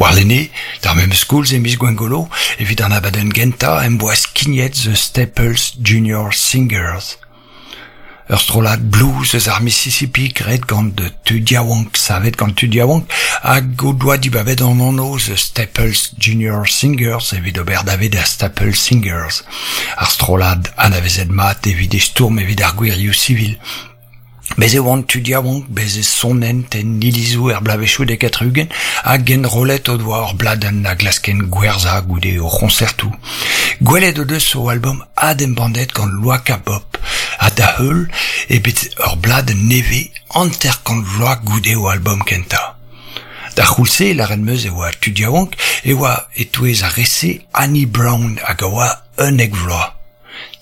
Warlene, d'ar memes koulz e miz Gwengolo, evit an abadenn gentañ em boa skignet The Staples Junior Singers. Ur strollad blues eus ar Mississippi graet gant tud yaouank, savet gant tud yaouank, hag o doa dibabet an anv The Staples Junior Singers evit ober dave da Staples Singers, ar strollad anavezet mat evit e stourm evit ar gwirioù sivil. Bez' e oant tud yaouank, bez' e sonent en ilizoù er bloavezhioù 70 hag enrollet o doa ur bladenn a glaskent gwerzhañ goude o c'hoñsertoù. Gwelet o deus o albom adembannet gant Loaka Pop ha da-heul eo bet ur bladenn nevez 50 vloaz goude o albom kentañ. D'ar c'houlz-se, lâret 'm eus e oa tud yaouank, e oa e-touez ar re-se Annie Brown hag a oa 11 vloaz.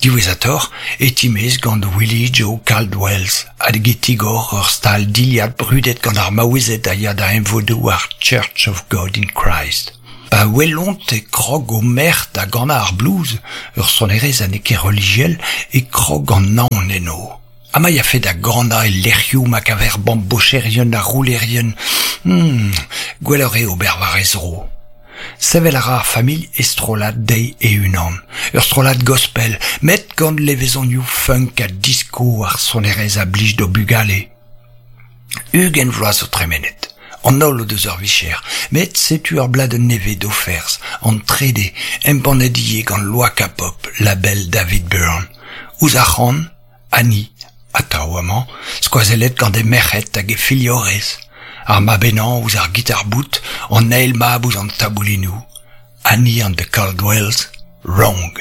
Diwezhatoc'h e timez gant Willie Joe Caldwells hag e tigor ur stal dilhad brudet gant ar maouezed a ya da emvodoù ar Church of God in Christ. Pa welont e krog o merc'h da ganañ ar blues, ur sonerezh ha n'eo ket relijiel, e krog an naon eno. Ha ma yafe da ganañ e lec'hioù ma kaver bambocherien ha roulerien, hmm, gwelloc'h eo ober war he zro. Sevel a ra ar familh e strollad dezhi e-unan, ur strollad gospel, met gant levezonioù funk ha disco ar sonerezh a blij d'o bugale. 20 vloaz zo tremenet. An holl o deus ur vicher, met setu ur bladenn nevez d'o ferzh, an trede, embannet ivez gant Loaka Pop, label David Byrne. Ouzh ar c'han, Annie, atav amañ, skoazellet gant he merc'hed hag he filhorez, ar mab henañ ouzh ar gitar-bout, an eil mab ouzh an taboulinoù. Annie and the Caldwells, Wrong.